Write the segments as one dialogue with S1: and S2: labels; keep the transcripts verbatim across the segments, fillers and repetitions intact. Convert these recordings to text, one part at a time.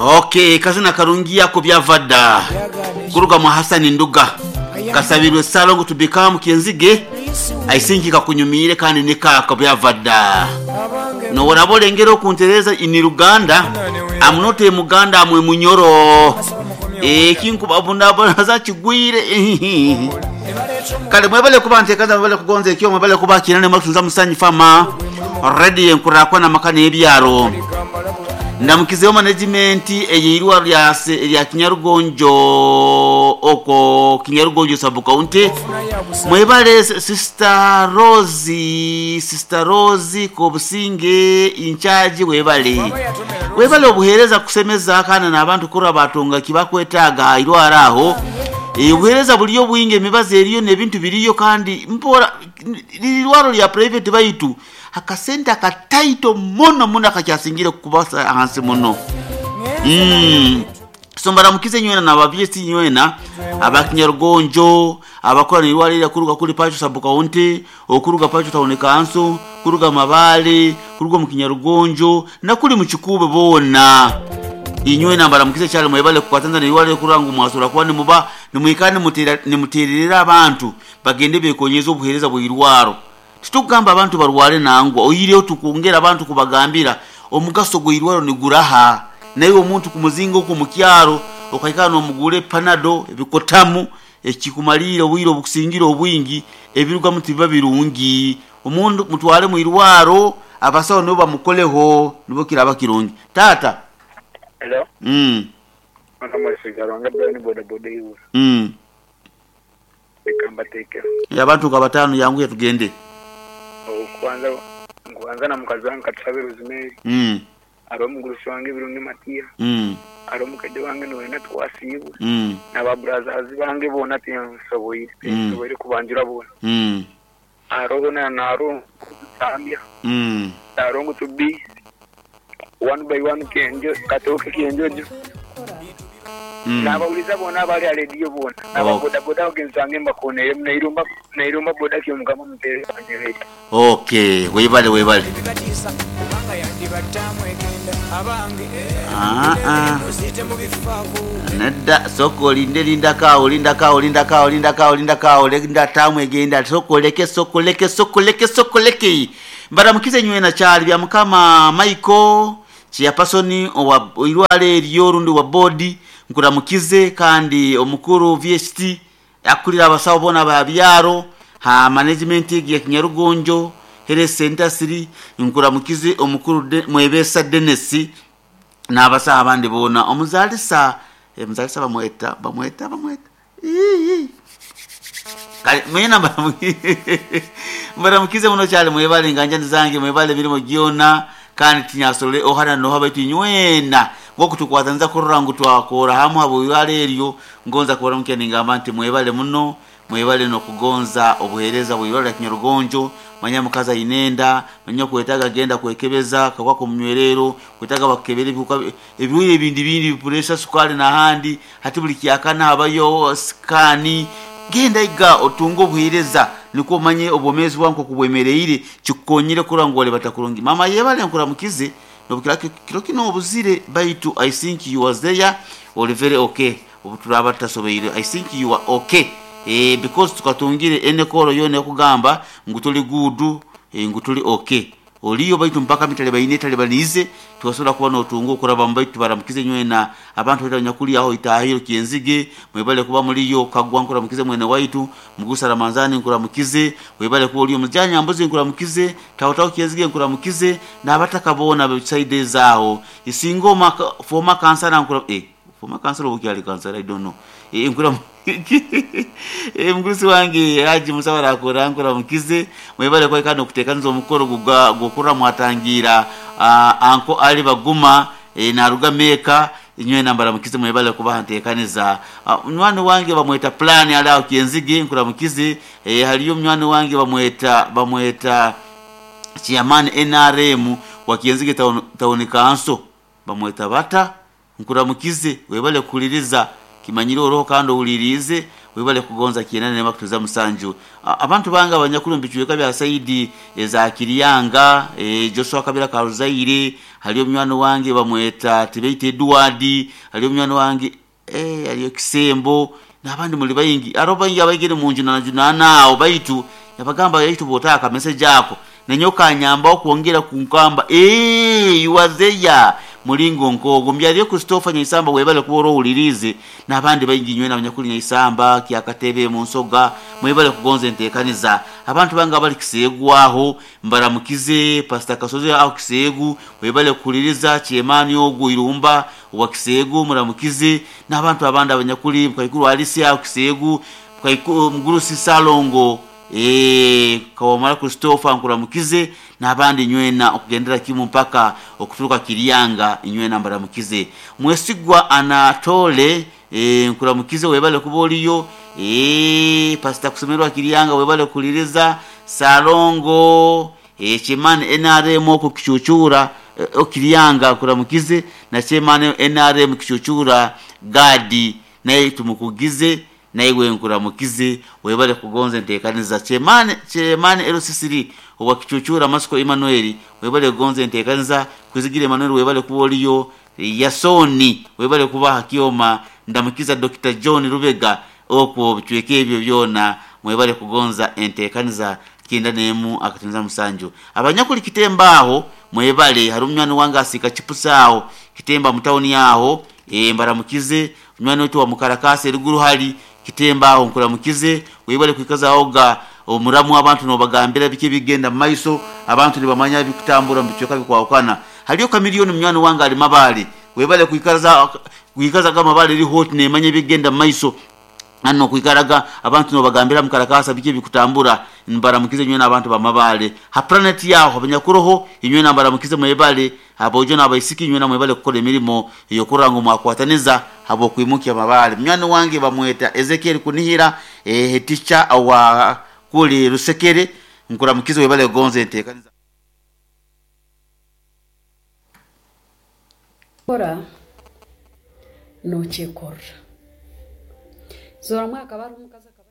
S1: Okay, kazina karungi yako byavadda kuruga mu Hassan Nduga kasabirwe salongo tubikamu kyenzige aisinki kakunyumire kandi nikaka byavadda no warabolengera okuntereza ini Ruganda amunote muganda amwe munyoro ekinkubabundabona kigwire. Kale mwebale kuba ntekaza, mwebale kugonza ekyo, mwebale kuba kinane mwatunza musanyi fama ready enkurakwa na makane ebyaro. Ndamukizeho management eyirwa lya lya Kinyarugonjo oko Kinyarugonjo sub county. Mwebale Sister Rose, Sister Rose Kobusinge in charge, webale webale obuhereza kusemeza kana n'abantu kura batunga kibakwetaga irwara aho obuhereza buliyo bwingi, emibazi eriyo n'ebintu biriyo kandi mpora lirwaro lya private baitu akasente akataito muno muno akakyasingire kubasa ahansi muno. Mm. So mbaramukize nywena na bavyesi nywena abakinyarugonjo abakora nirwalira kuruga kuri Pacho sub county, okuruga Pacho town council, kuruga Mabale, kuruga mu Kinyarugonjo nakuli mu Kikube bona inywena mbaramukize cyane mwebale kukwatanza nirwalira kurangu mwasura kuba nimuba nimwikane mutera nimutererera abantu bagende bekonyeza obuhereza bwirwaro. Titugamba abantu barware nangwa oyireyo tukongera abantu kubagambira omugaso gwirwaro ni guraha naye omuntu kumuzinga ku mukyaro okaikana omugure panado ebikotamu ekikumalira obwiro obukusingira obwingi ebiruga mutiba birungi omuntu mutwale mu irwaro abasawo nibo bamukoleho nibo kiraba kirungi. Tata
S2: hello.
S1: Mm.
S2: Mwana mwesigaranga Brian boda boda iwe.
S1: Mm.
S2: Ekamba teke.
S1: Ya abantu kabatano yangu tugende.
S2: Kwanza kwanza na mukazi wange katusabe Rosemary.
S1: Mm.
S2: Aro mugurusi wange Birungi Matia.
S1: Mm.
S2: Aro mukede wange nowena twasibwe.
S1: Mm.
S2: Na brothers bange bona tinsoboire.
S1: Mm.
S2: Tinsoboire kubanjura bona.
S1: Mm.
S2: Aro na naro Zambia.
S1: Mm.
S2: Aro ngo to be one by one kenjo katoke kenjojo.
S1: Mm.
S2: Nabawuliza bona abali alediyo bona. Nababoda boda ogenzi wange mbakonere nairumba nairumba boda kyomukama mutere wanyerere.
S1: Okay, webale webale. Ah ah. Nedda soko linde linda kawo linda kawo linda kawo linda kawo linda kawo linda tamwe genda soko leke soko leke soko leke soko leke. Mbaramukize nywena cyali bya mukama Michael Chiapasoni owa irwale eriyo rundi wa body nkuramukize kandi omukuru V H T akulira abasawo bona babyaro ha management ya Kinyarugonjo Health Center three nkuramukize omukuru de, mwebesa Dennis n'abasawo abandi bona omuzalisa eh, muzalisa bamweta bamweta bamweta ii kale mwena mbaramukize muno cyane mwebale nganja nzange mwebale birimo gyona kandi tinyasolole ohana no habaitu nywena ngo kutukwatanza kurora ngu twakora hamwe abo yareryo ngonza kubara mukene ngamba nti mwebale muno mwebale no kugonza obuhereza bwirora Kinyarugonjo manya mukaza inenda manya kwetaga genda kwekebeza kakwa kumnywerero kwetaga bakebere bikuka ebiwe ebindi bindi pressure sukali na handi hati buli kyakana habayo skani genda iga otungo obuhereza niko manye obomezi bwanko kubwemereire kikonyire kurangwale batakurungi mama yebale nkuramukize nobukira kiro kino obuzire baitu I think you was there or very okay obuturaba tasobeire I think you are okay eh because tukatungire ene koro yone kugamba ngutuli gudu eh, ngutuli okay oliyo baitu mpaka mitale baine tale banize tuwasobola kuba notunga okuraba mbaitu baramukize nywena abantu batanyakuli aho itahiro kyenzige mwebale kuba muliyo kagwa nkuramukize mwene waitu mugusa Ramanzani nkuramukize webale kuba oliyo mujanya mbuzi nkuramukize tawtaw kyenzige nkuramukize n'abatakabona beside zaho isingoma former kansala nkura eh former kansala obukyali kansala I don't know eh nkura eh mgusi wange Haji Musabara akora nkuramukize mwebale kwa kano kutekanza omukoro guga gukura mwatangira uh, anko ali baguma e, naruga meka inywe nambara mukize mwebale kuba ntekaniza uh, mnywani wange bamweta plan ala kyenzige nkuramukize e, haliyo mnywani wange bamweta bamweta chairman N R M wa Kyenzige town, town council bamweta bata nkuramukize webale kuliriza kimanyiro roho kandi ulirize Webale kugonza kyenda n'emu akatuza musanju. Abantu bange abanyakulu mu bicweka bya saidi eza Kiriyanga, e, Joshua Kabira Karuzaire, haliyo munywani wange bamweta Tibeite Edward, haliyo munywani wange eh haliyo Kisembo n'abandi muli bayingi. Aro bayingi abaigire mu njuna junana awo baitu yabagamba yaitu botaka message yako nenyoka nyamba okwongera kunkamba eh you are there mulingo nkogo mbyaliyo Christopher Nyaisamba webale kuba owulirize n'abandi bayingi nywena abanyakuli Nyaisamba kyakatebe mu nsoga mwebale kugonza enteekaniza. Abantu bange abali Kiseegwaho mbaramukize Pastor Kasozi aho Kiseegu webale kukuliriza Kyemani ogwo Irumba wa Kiseegu muramukize n'abantu abandi abanyakuli Mukaikuru Alice aho Kiseegu Mukaikuru Mugurusi Salongo eh Kawamara Christopher nkuramukize n'abandi nywena okugendera kimu mpaka okuturuka Kiriyanga inywena mbaramukize. Mwesigwa Anatole eh nkuramukize webale kuba oliyo eh Pastor Kusemerwa Kiriyanga webale kuliriza Salongo eh Chemane N R M oku kichuchura eh, Okiriyanga nkuramukize na Chemane N R M kichuchura Gadi naye tumukugize naiwe nkuramukize webale kugonza enteekaniza. Chemane Chemane L C C owa kichuchura Masiko Emmanuel webale kugonza enteekaniza. Kuzigira Emmanuel webale kuba oliyo. Yasoni webale kuba hakioma ndamukiza Doctor John Rubega okwo bitweke ebyo byona mwebale kugonza enteekaniza kyenda n'emu akatunza musanju. Abanyakuli Kitemba aho mwebale hari munywani wange asika chipusa aho Kitemba mu town yaho e, mbaramukize munywani wetu wa Mukarakasi eruguru hali Kitemba aho nkuramukize webale kwikaza oga omuramu abantu nobagambira biki bigenda maiso abantu nibamanya bikutambura mu bicweka bikwawukana. Haliyo kamiliyoni munywani wange ali Mabale webale kwikaza kwikaza ga Mabale eri hot nemanye bigenda maiso ano kwikaraga abantu nobagambira Mukarakasa biki bikutambura mbaramukize nywe n'abantu ba Mabale ha planet yaho abanyakuroho inywe nambaramukize mwebale abojo n'abaisiki nywe namwebale kukola emirimo yokuranga mwakwataniza habo kwimukia Mabale. Munywani wange bamweta Ezekiel Kunihira eh teacher wa kuli Rusekere nkuramukize webale gonze enteekaniza.
S3: Kora nokyekora zora mwaka bari omukazi akaba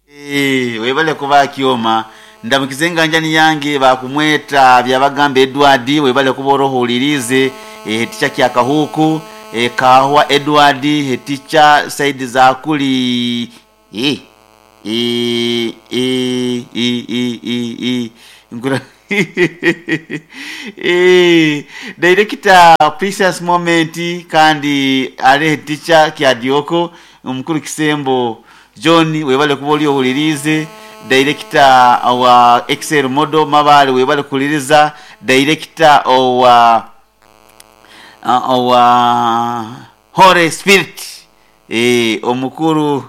S1: Eh webale kuba kioma ndamukize nganjani yange bakumweta byabagamba Edward webale kuba orohulirize eh ticha kya kahuku eh kahwa Edward ticha side za kuli eh eh eh eh eh eh ngura eh director Precious Moment kandi ale teacher kya Dioko omukuru Kisembo John webale kuba oli owulirize. Director wa Excel Model Mabale webale kuliriza. Director wa wa Holy Spirit eh omukuru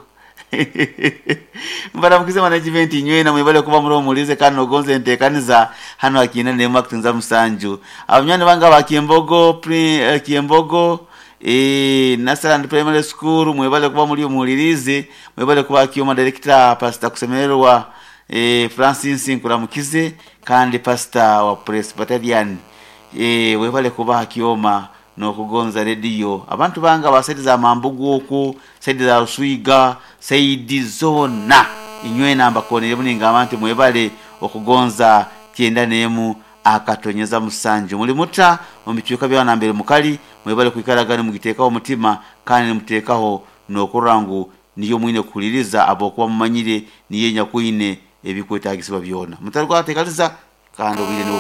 S1: mbaramukize management nywena mwebale kuba muri omulize kandi ogonze enteekaniza hano akina n'emu akutunza musanju. Abanywani bange ba Kiembogo pri, Kiembogo eh Nasaland Primary School mwebale kuba muri omulirize mwebale kuba kioma director Pastor Kusemererwa eh Francis nkuramukize kandi pastor wa Presbyterian eh webale kuba kioma nokugonza radio. Abantu banga basaidi za Mambugu oku saidi za Ruswiga saidi zona inywena mbakonere muninga abantu mwebale okugonza kyenda n'emu akatonyeza musanju. Muli muta mu bicuka bya nambere mukali mwebale kwikaragana mugitekaho omutima kandi mutekaho nokurangu niyo mwine kuliriza abokuba mumanyire niye nyakwine ebikwetagisibwa byona mutarwa tekaliza kandi obwire.